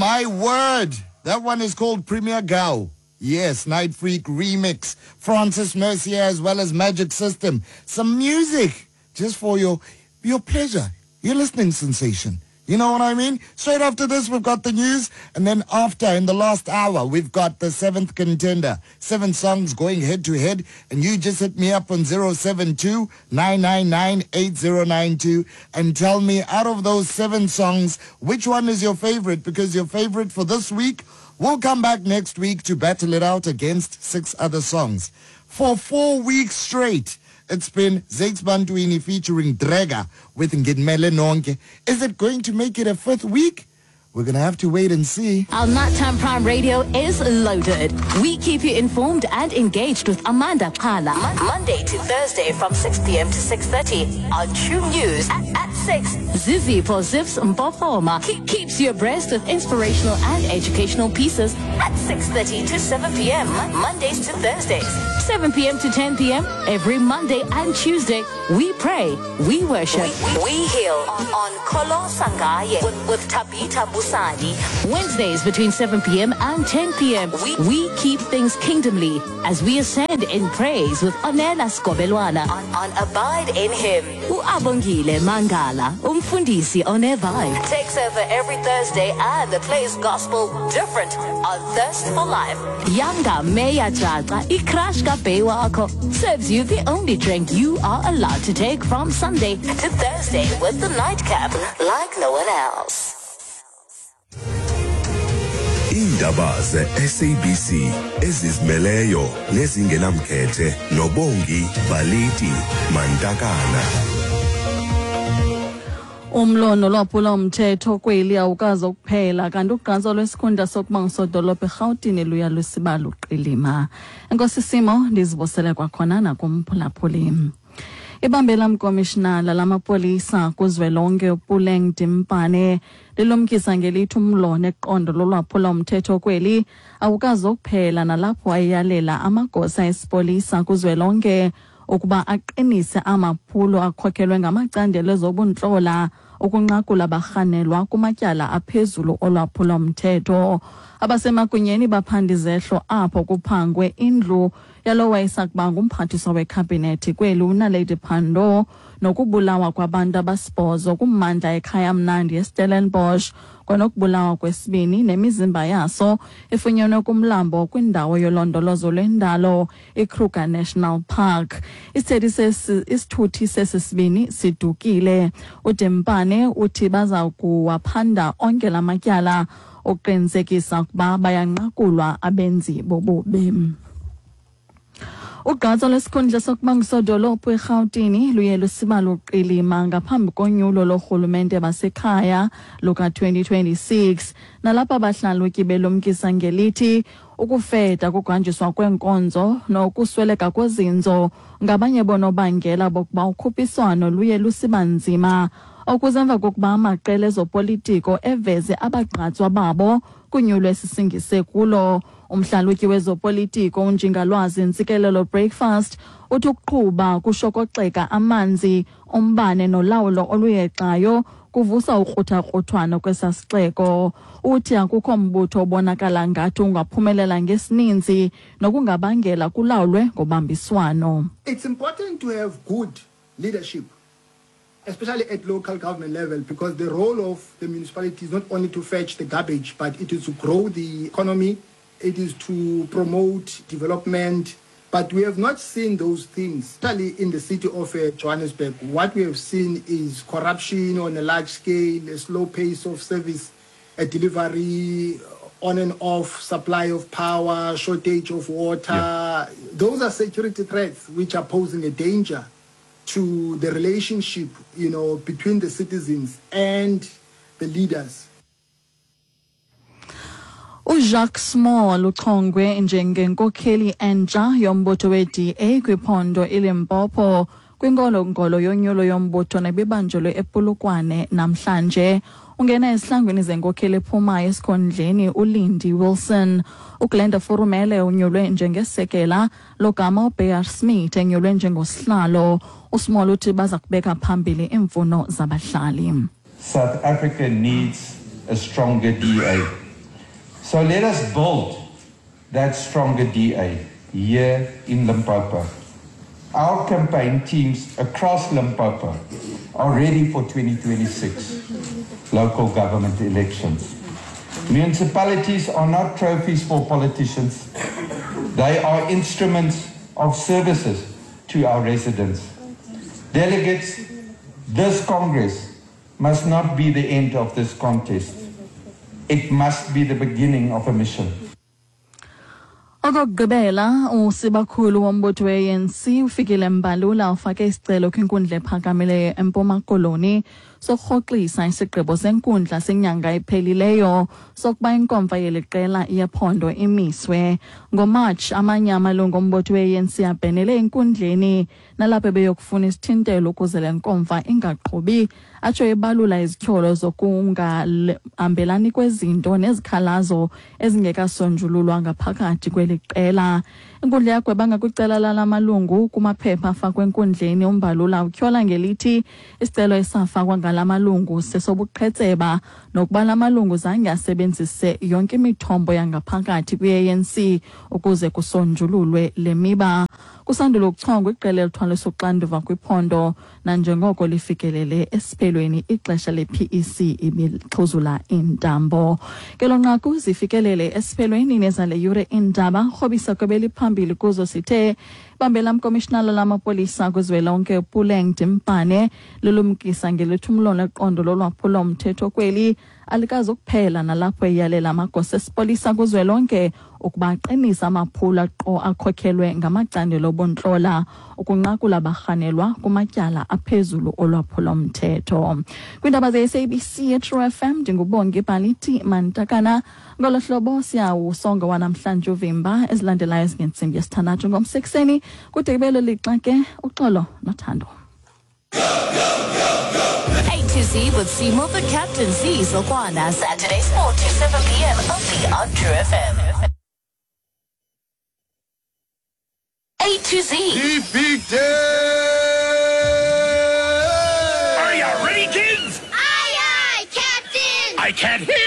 my word. That one is called Premier Gao. Yes, Night Freak remix. Francis Mercier as well as Magic System. Some music just for your pleasure, your listening sensation. You know what I mean? Straight after this, we've got the news. And then after, in the last hour, we've got the seventh contender. 7 songs going head to head. And you just hit me up on 072-999-8092 and tell me out of those 7 songs, which one is your favorite? Because your favorite for this week will come back next week to battle it out against 6 other songs. For 4 weeks straight, it's been Zakes Bantwini featuring Drega with Ngidmele Nonke. Is it going to make it a 5th week? We're going to have to wait and see. Our Nighttime Prime Radio is loaded. We keep you informed and engaged with Amanda Kala. Monday to Thursday from 6 p.m. to 6:30 on True News at 6. Zizi for Zips Mpofoma keeps you abreast with inspirational and educational pieces at 6:30 to 7 p.m. Mondays to Thursdays. 7 p.m. to 10 p.m. every Monday and Tuesday. We pray, we worship, we heal on Kolo Sangaye with Tabitha Busani. Wednesdays between 7 p.m. and 10 p.m. We keep things kingdomly as we ascend in praise with Onela Skobelwana on Abide in Him. Uabongile Mangala, Umfundisi on Air Vibe, takes over every Thursday and plays gospel different on Thirst for Life. Yanga Meya Jaja, Ikrash Ka Bewako serves you the only drink you are allowed to take from Sunday to Thursday with the nightcap like no one else. Indaba ze-SABC ezizimeleyo nezingenamkhethe noBongi Baliti Mantakana. Umlo nolwaphula umthetho kweli awukazi ukuphela kanti ugqatso lwesikhundla sokuba ngusodolophu eRhawutini luya lusiba luqilima. Enkosi Simo, ndizibosele kwakhona nakumphulaphuli. Ibambela mkomishinala lamapolisa kuzwelonke uPuleng Dimpane lilumkisa ngelithi umlo neqondo lolwaphula umthetho kweli awukazi ukuphela nalapho ayeyalela amagosa esipolisa kuzwelonke ukuba aqinise amaphulo akhokhelwe ngamacandelo ezobuntlola ukunqakula abarhanelwa kumatyala aphezulu olwaphula umthetho. Abasemagunyeni baphanda izehlo apho kuphangwe indlu yalowo wayesakuba ngumphathiswa wekhabhinethi kweli uNaledi Pandor nokubulawa kwabantu abasibhozo kummandla ekhaya mnandi eStellenbosch kwanokubulawa kwesibini nemizimba yaso efunyenwe kumlambo kwindawo yolondolozo lwendalo iKruger National Park. Isithuthi sesisibini sidukile. UDempane uthi baza kuwaphanda onke la matyala ukuqinisekisa ukuba bayanqakulwa abenzi bobubi. Ugqatso lwesikhundla sokuba ngusodolophu eRhawutini luye lusiba luqilima ngaphambi konyulo lorhulumente basekhaya luka-2026 nalapho abahlalutyi belumkisa ngelithi ukufeda kuhanjiswa kweenkonzo nokusweleka kwezinzo ngabanye bonobangela bokuba ukhuphiswano luye lusiba nzima, okuze emva kokuba amaqela ezopolitiko eveze abagqatswa babo kunyulo esisingise kulo. Umhlalutyi wezopolitiko uNjingalwazi Ntsikelelo Breakfast uthi ukuqhuba kushokoxeka amanzi, umbane nolawulo oluyexayo kuvusa ukruthakruthwano kwesasixeko. Uthi akukho mbutho obonakala ngathi ungaphumelela ngesininzi nokungabangela kulawulwe ngobambiswano. It's important to have good leadership, especially at local government level, because the role of the municipality is not only to fetch the garbage, but it is to grow the economy, it is to promote development. But we have not seen those things, especially in the city of Johannesburg. What we have seen is corruption on a large scale, a slow pace of service delivery, on and off supply of power, shortage of water. Yeah. Those are security threats which are posing a danger to the relationship, you know, between the citizens and the leaders. uJacques Small uchongwe njengenkokheli entsha yombutho we-DA kwiphondo iLimpopo kwingolongolo yonyulo yombutho nebibanjelwe ePolokwane namhlanje. Ungena esihlangwini zenkokheli ephumayo esikhondleni uLindy Wilson. uGlenda Furumele unyulwe njengesekela logama uBear Smith enyulwe njengosihlalo. uSmall uthi baza kubeka phambili iimfuno zabahlali. South Africa needs a stronger DA. So let us build that stronger DA here in Limpopo. Our campaign teams across Limpopo are ready for 2026 local government elections. Municipalities are not trophies for politicians. They are instruments of services to our residents. Delegates, this Congress must not be the end of this contest. It must be the beginning of a mission. Okokugqibela usibakhulu wombutho we-ANC uFikile Mbalula ufake isicelo kwinkundla ephakamileyo eMpuma Koloni sokurhoxisa isigqibo senkundla senyanga ephelileyo sokuba inkomfa yeli qela yephondo imiswe. NgoMarch amanye amalungu ombutho we-ANC abhenele enkundleni nalapho beyokufuna isithintelo ukuze le nkomfa ingaqhubi, atsho ebalula izityholo zokungahambelani kwezinto nezikhalazo ezingekasonjululwa ngaphakathi kweli qela. Inkundla yagweba ngakwicala lala malungu kumaphepha afakwe enkundleni. UMbalula utyhola ngelithi isicelo esafakwa ngala malungu sesobuqhetseba nokuba la malungu zange asebenzise yonke imithombo yangaphakathi kwi-ANC ukuze kusonjululwe le miba. Kusandula ukuchongwa iqela elithwalisa uxanduva kwiphondo nanjengoko lifikelele esiphelweni ixesha le-PEC ibixhuzula iintambo. Ngelo nqaku zifikelele esiphelweni nezale yure iindaba. Rhobisa kwebeliphambili kuzo sithe bambela mkomishinala lamapolisa kuzwelonke uPuleng Dimpane lulumkisa ngelithi umlo neqondo lolwaphulo-mthetho kweli alikazi ukuphela nalapho eyalela amagosa esipolisa kuzwelonke ukuba aqinise amaphulo akhokhelwe ngamacandelo obuntlola ukunqakula abarhanelwa kumatyala aphezulu olwaphulo-mthetho. Kwiindaba ze-SABC eTrue FM ndinguBongi Bhaliti Mantakana. Ngolo hlobo siyawusonga wanamhlanje uvimba ezilandelayo ezingentsimbi yesithandathu ngomsekuseni kude kube lixa ke uxolo nothando. A to Z with Seymour the Captain Z Zokwana. Saturdays 4 to 7 p.m. only on True FM. A to Z. The big day! Are you ready, kids? Aye, aye, Captain! I can't hear